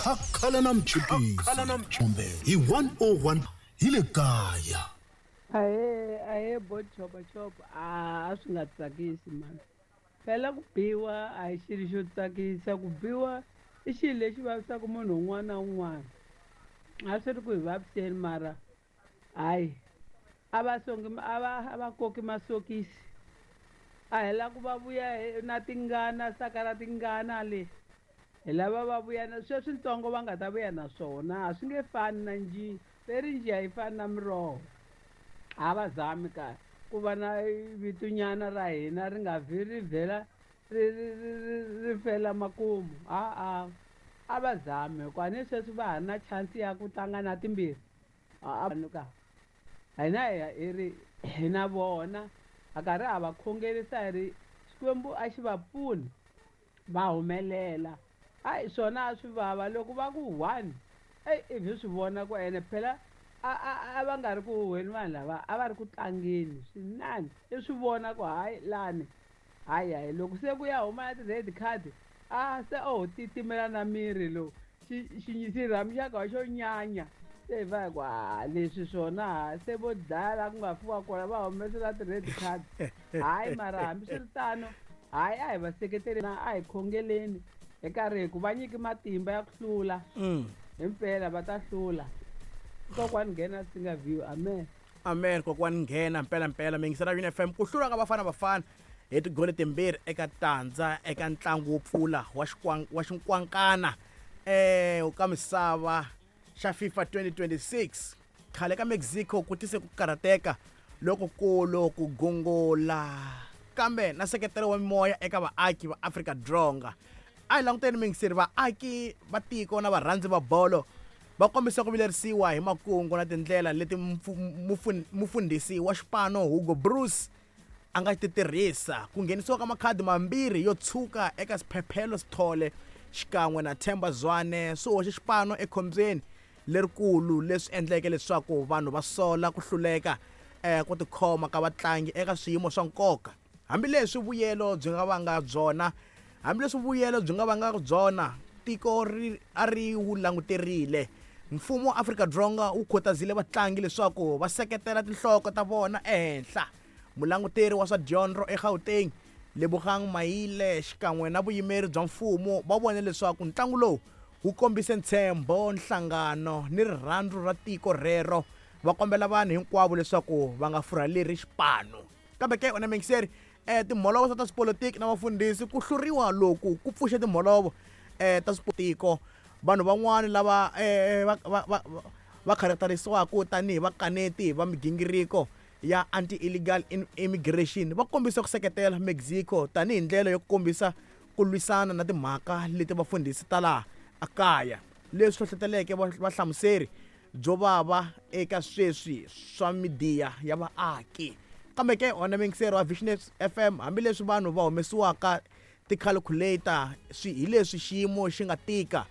Khakhala na mchipisi kumbe hi 101 hi le kaya. Ahee, ahee bo chopachopa, a swi nga tsakisi mani. Phela ku biwa a hi xilo xo tsakisa, ku biwa i xilo lexi vavisaka munhu un'wana na un'wana. A swi ri ku hi vaviseni mara hayi a va songi a va koki masokisi. A hi la ku va vuya na tingana saka ra tingana le. Hi lava va vuya na sweswi ntsongo va nga ta vuya na swona a swi nge fani na njiya. Ve ri njiya yi fani na miroho. A va zami ka ku va na vitonyana ra hina ri nga vhi ri vhela ri ri ri ri ri fela makumu. A-a a va zami hikuva ni sweswi va ha ri na chance ya ku tlanga na timbirhi. A ka hina hi ri hi na vona ha karhi ha va khongerisa hi ri Xikwembu a xi va pfuni va humelela. Hayi swona a swi vava loko va ku one eyi ivi swi vona ku ene phela a a a va nga ri ku huhweni vanhu lava a va ri ku tlangeni swinene i swi vona ku hayi lani hayi hayi loko se ku ya huma na ti-red card a se o ho titimela na miri lowu xirhami xa ka xo nyanya se hi va hi ku ha leswi swona se vo dlaya la ku nga fiwa kona va humesela ti-red card. Hayi mara hambiswiritano hayi a hi va seketeli na a hi khongeleni hi karhi hi ku va nyiki matimba ya ku hlula. Himpela va ta hlula. Kokwani nghena singa view. Amen. Amen kokwani nghena mpela mpela mingisela Yuni FM ku hlula ka Bafana Bafana hi tigoli timbirhi eka tandza eka ntlangu wo pfula wa wa xinkwankana ka misava xa FIFA 2026 khale ka Mexico ku tise ku karhateka lokukulu ku gungula kambe na seketelo wa mimoya eka vaaki va Afrika-Dzonga. A hi languteni mingiseri vaaki va tiko na varhandzi va bolo va kombisa ku vilerisiwa hi makungu na tindlela leti mufundhisi wa xipano Hugo Broos a nga ti tirhisa ku nghenisiwa ka makhadi mambirhi yo tshuka eka Sphephelo Sithole xikan'we na Themba Zwane swi hoxe xipano ekhombyeni lerikulu leswi endleke leswaku vanhu va sola ku hluleka ku tikhoma ka vatlangi eka swiyimo swa nkoka. Hambileswi vuyelo byi nga vanga byona hambileswi vuyelo byi nga vanga byona tiko ri a ri wu languterile. Mfumo wa Afrika-Dzonga wu khutazile vatlangi leswaku va seketela tinhloko ta vona ehenhla. Mulanguteri wa swa dyondzo eGauteng, Lebogang Maile xikan'we na vuyimeri bya mfumo va vone leswaku ntlangu lowu wu kombise ntshembo, nhlangano ni rirhandzu ra tiko rero, va kombela vanhu hinkwavo leswaku va nga furhaleri xipano. Kambe ke, wena muyingiseri, timholovo swa ta swipolitiki na vafundhisi ku hluriwa loku ku pfuxe timholovo ta switiko. Vanhu van'wana lava va va va va kharakterisiwaka tanihi vakaneti va migingiriko ya anti-illegal immigration va kombise ku seketela Mexico tanihi ndlela yo kombisa ku lwisana na timhaka leti vafundhisi ta laha kaya, leswi hlohloteleke vahlamuseri byo vava eka sweswi swa midiya ya vaaki. Kambe ke, wena muyingiseri wa Visionary FM, hambileswi vanhu va humesiwaka tikhalkhuleita swi hi leswi xiyimo xi nga tika,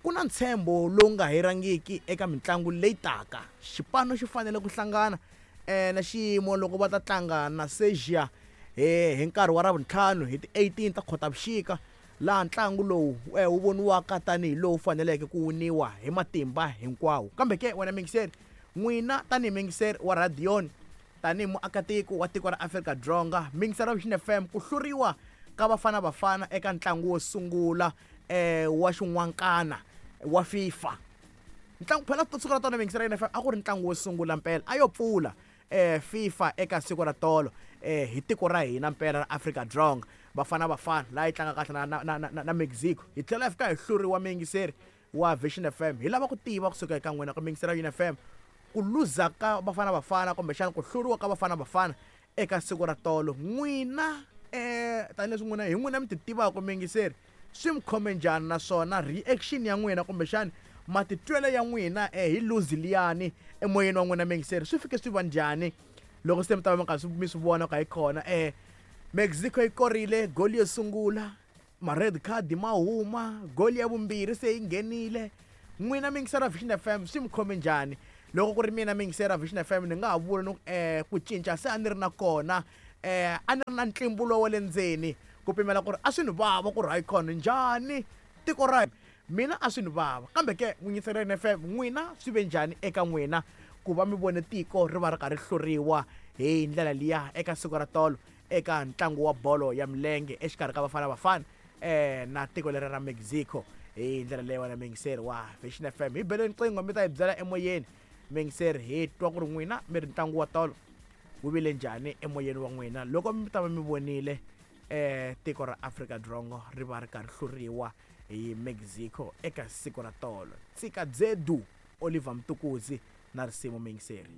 ku na ntshembo lowu nga herangiki eka mintlangu leyi taka. Xipano xi fanele ku hlangana na xiyimo loko va ta tlanga na Serbia hi nkarhi wa Ravuntlhanu hi ti 18 ta Khotavuxika, laha ntlangu lowu wu voniwaka tanihi lowu faneleke ku winiwa hi matimba hinkwawo. Kambe ke, wena muyingiseri, n'wina tanihi muyingiseri wa rhadiyoni, tanihi muakatiko wa tiko ra Afrika-Dzonga, muyingiseri wa Vision FM, ku hluriwa ka Bafana Bafana eka ntlangu wo sungula wa xin'wankana wa FIFA. Ntlangu phela siku ra tolo muyingiseri wa FM a ku ri ntlangu wo sungula mpela a yo pfula FIFA eka siku ra tolo hi tiko ra hina mpela ra Afrika-Dzonga. Bafana Bafana laha yi tlanga kahle na na na na Mexico. Hi tlhela hi fika hi hluriwa muyingiseri wa Vision FM. Hi lava ku tiva kusuka eka n'wina ku muyingiseri wa Yuni FM ku luza ka Bafana Bafana kumbexana ku hluriwa ka Bafana Bafana eka siku ra tolo n'wina tanihileswi n'wina hi n'wina mi ti tivaka muyingiseri swi mi khome njhani naswona reaction ya n'wina kumbexana matitwelo ya n'wina hi lose liyani emoyeni wa n'wina muyingiseri swi fike swi va njhani loko se mi ta va mi karhi mi swi vona ku hayi khona Mexico yi korile goli yo sungula ma-red card ma huma goli ya vumbirhi se yi nghenile n'wina muyingiseri wa Vision FM swi mi khome njhani loko ku ri mina muyingiseri wa Vision FM ni nga ha vula ni ku ku cinca se a ni ri na kona a ni ri na ntlimbulo wa le ndzeni ku pimela ku ri a swi ni vava ku ri hayi khona njhani tiko ra. Mina a swi ni vava, kambe ke n'wingiseri FM, n'wina swi ve njhani eka n'wina ku va mi vone tiko ri va ri karhi hluriwa hi ndlela liya eka siku ra tolo eka ntlangu wa bolo ya milenge exikarhi ka Bafana Bafana na tiko leri ra Mexico hi ndlela leyi? Wena muyingiseri wa Vision FM, hi beleni nqingho mi ta hi byela emoyeni. Muyingiseri, hi twa ku ri n'wina mi ri ntlangu wa tolo wu vile njhani emoyeni wa n'wina loko mi ta va mi vonile tiko ra Afrika-Dzonga ri va ri karhi hluriwa hi Mexico eka siku ra tolo. Tsika Dzedu, Oliver Mtukudzi na risimu, muyingiseri.